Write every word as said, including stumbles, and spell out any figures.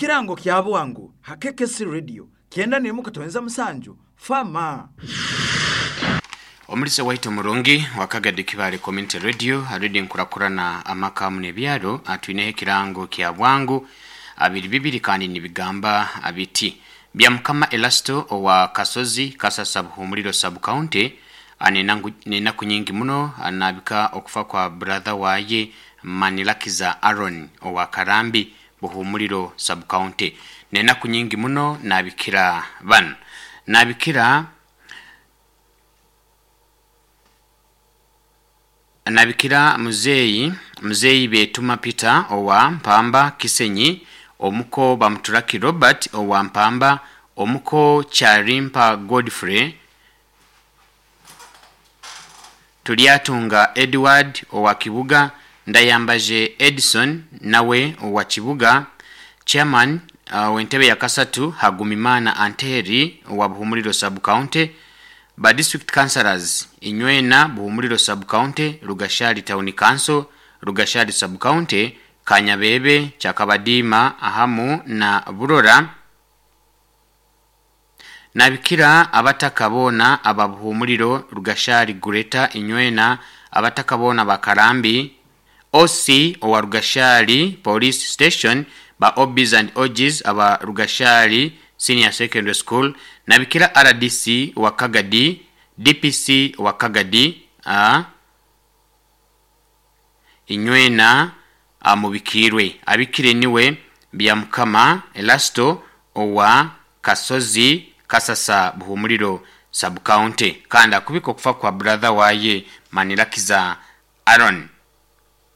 Ekirango kya bwangu ha K K C Radio kyenda n'emwe katoenza musanju fama. Omulisa waitu murungi wa Kagadi Kibale Community Radio aridi nkurakurana amaka munebyaro atwineho ekirango kya bwangu abiri bibiri kandi nibigamba abiti bya Mukama Elasto owa Kasozi Kasasa Buhumuliro Sub County nenaku nyingi muno anabika okufa kwa brother waye Manilakiza Aaron owa Karambi Buhumuliro Sub County. Nenaku nyingi muno nabikira ban nabikira nabikira muzeyi muzeyi Betuma Peter owa Mpamba Kisenyi, omuko Bamuturaki Robert owa Mpamba, omuko Charimpa Godfrey, Tuliatunga Edward owa Kibuga, Ndayambaje Edison nawe owa Kibuga, chairman uh, wentebe ya Kasatu Hagumimana Anteri owa Buhumuliro Sub County, ba district councillors Inywena Buhumuliro Sub County, Rugashari Town Council, Rugashari Sub County, Kanyabebe, Chakabadima ahamu na Burora. Nabikira abatakabona aba Buhumuliro, Rugashari Greater Inywena, abatakabona bakarambi, O C owa Rugashari Police Station, ba O Bs and O Gs aba Rugashari Senior Secondary School, nabikira R D C wa Kagadi, D P C wa Kagadi, a Inywena amubikirwe abikire niwe bya Mukama Elasto owa Kasozi Kasasa Buhumuliro Sub County, kandi akubika okufa kwa brother waye Manilakiza Aaron.